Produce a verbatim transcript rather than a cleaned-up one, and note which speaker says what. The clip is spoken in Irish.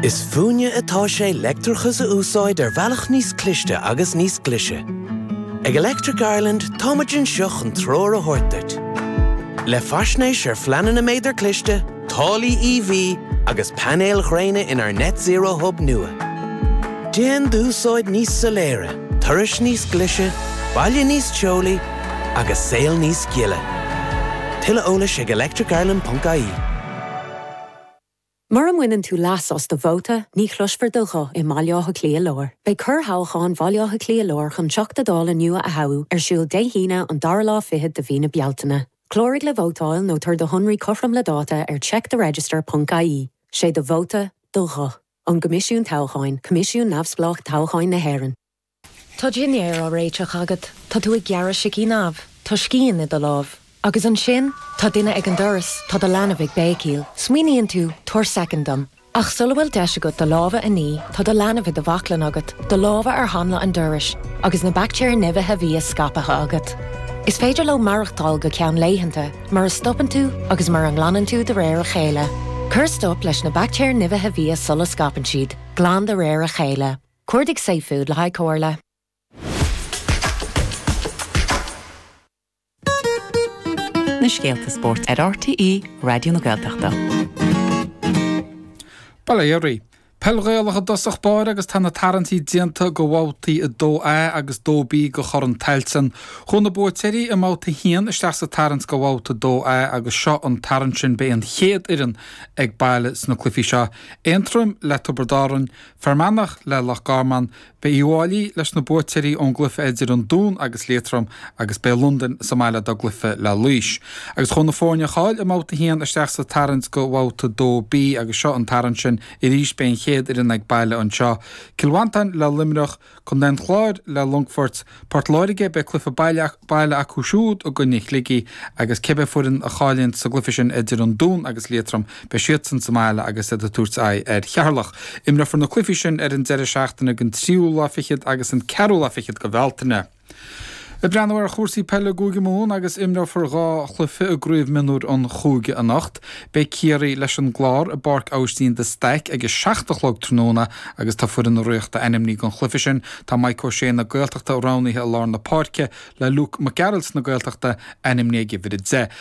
Speaker 1: Is fúinne atá sé leictreachas a úsáid ar bhealach níos cliste agus níos glaise. Ag Electric Ireland táimid anseo chun treoir a thabhairt duit. Le faisnéis ar phleananna méadar cliste, táillí EV agus painéil ghréine inár Net Zero Hub nua. Déan d'úsáid níos soiléire, turais níos glaise, baile níos teolaí agus saol níos gile. Tuilleadh eolais ag electricireland.ie.
Speaker 2: Mura mbaineann tú leas as do vóta, ní chloisfear do ghuth i mBaile Átha Cliath Láir. Beidh corrthoghchán Bhaile Átha Cliath Láir chun Teachta Dála nua a thoghadh ar siúl Dé hAoine an dara lá fichead de mhí na Bealtaine. Cláraigh le vótáil nó tabhair do shonraí cothrom le dáta ar checktheregister.ie. Sé do vóta do ghuth. Ón gCoimisiún Toghcháin, Coimisiún Neamhspleách Toghcháin na hÉireann. Tá dinnéar á réiteach agat, Tá tú ag gearradh sicín amh, Tá scian i do lámh. Agus ansin tá duine ag an doras tá do leanbh ag béicíl, Smaoiníonn tú tabhair soicind dom. Ach sula bhfuil deis agat do lámha a ní tá do leanbh i do bhaclainn agat, do lámha ar hanla an dorais, agus na baictéir nimhithe bia scaipthe agat. Is féidir leo maireachtáil go ceann laethanta, mura stopann tú agus mura nglanann tú de réir a chéile. Cuir stop leis na baictéir nimhithe bia sula scaipeann siad, glan de réir a chéile. Cuardaigh safefood le haghaidh comhairle.
Speaker 3: Na scéalta spóirt ar RTÉ Raidió na Gaeltachta.
Speaker 4: Bail ó Dhia oraibh. Peil Ghaelach i dtosach báire agus tá na tarraingtí déanta do bhabhtaí a dó A agus dó B de Chorn Tailteann. Chuaigh na buaiteoirí i mbabhta a haon isteach sa tarraingt do bhabhta dó A agus seo an tarraingt sin beidh an chéad fhoireann ag baile sna cluichí seo. Aontroim le Tiobraid Árann, Fear Manach le Loch Garman, Beidh Uíbh Fhailí leis na buaiteoirí ón gcluiche idir an Dún agus Liatroim agus beidh Londain sa mbaile dá gcluiche le Laois. Agus chuaigh na foirne a chaill i mbabhta a haon isteach sa tarraingt do bhabhta dó B agus seo an tarraingt sin arís beidh an chéad fhoireann ag baile anseo. Cill Mhantáin le Luimneach, Contae an Chláir le Longfort, Port Láirge, beidh cluiche baile baile acu siúd i gcoinne Shligigh agus cibé foireann a chailleann sa gcluiche sin idir an Dún agus Liatroim, beidh siadsan sa mbaile agus iad ag tabhairt aghaidh ar Cheatharlach. Imreofar na cluichí sin ar an deireadh seachtaine den tríú lá fichead agus an ceathrú lá fichead de Bhealtaine. Ag breathnú ar chúrsaí peile i gCúige Mumhan agus imreofar dhá chluiche i gCraobh Mionúir an Chúige anocht. Beidh Ciarraí leis an gClár i bPáirc Aibhistín de Staic ag a seacht a chlog tráthnóna agus tá foireann na Ríochta ainmnithe don chluiche sin. Tá Mike O'Shea na Gaeltachta roghnaithe i lár na páirce le Luke Mac Gearailt na Gaeltachta ainmnithe ag uimhir a deich.